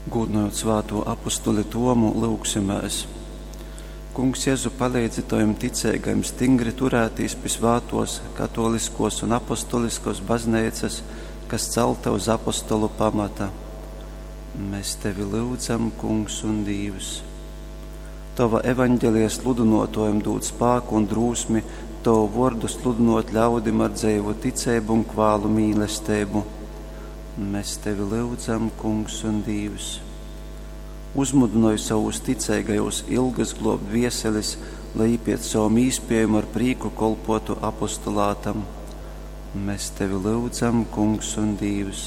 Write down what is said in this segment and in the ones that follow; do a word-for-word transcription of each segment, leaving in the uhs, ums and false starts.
Gūdynojot svātū apostuli Tomu, lyugsimēs. Kungs Jezu, paleidzi tovim ticeigajim stingri turētīs pi svātōs, katōliskōs un apostoliskōs bazneicas, kas calta uz apostolu pamata. Mēs tevi lyudzam, Kungs un Dīvs. Tova evaņgelija sludynōtōjim dūd spāku un drūsmi tovu vōrdu sludynōt ļaudim ar dzeivu ticeibu un kvālu mīlesteibu. Mēs tevi lyudzam, Kungs un Dīvs. Uzmudynoj savus ticeigajus ilgas globt dvieselis, lai jī piec sovom īspiejom ar prīku kolpuotu apostolātam. Mēs tevi lyudzam, Kungs un Dīvs.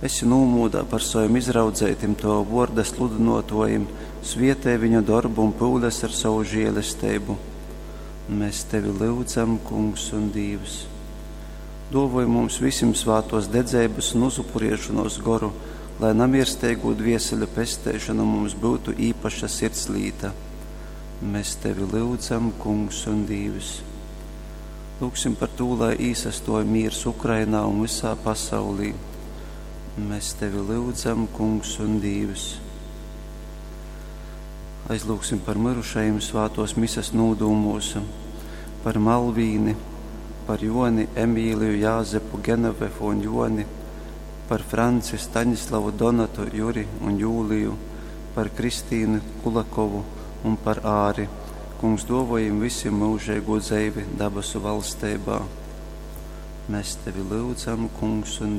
Esi nūmūdā par savim izraudzeitim tova vuorda sludynuotuojim, svietej viņu dorbu un pyules ar sovu žielesteibu. Mēs tevi lyudzam, Kungs un Dīvs. Duovoj mums vysim svātuos dedzeibys un uzupuriešonuos goru, lai namiersteigū dvieseļu pesteišona mums byutu īpaša sirdslīta. Mēs tevi lyudzam, Kungs un Dīvs. Lūgsim par tū, lai īsastuoj mīrs Ukrainā un vysā pasaulī. Mēs tevi lyudzam, Kungs un Dīvs. Aizlūgsim par myrušajim svātuos mises nūdūmūs, par Malvīni, par Joni, Emīliju, Jāzepu, Genovefu un Joni, par Franci, Staņislavu, Donatu, Juri un Jūliju, par Kristīnu Kulakovu un par Āri. Kungs duovoj jim vysim myužeigū dzeivi dabasu valsteibā. Mēs tevi lyudzam, Kungs un Dīvs.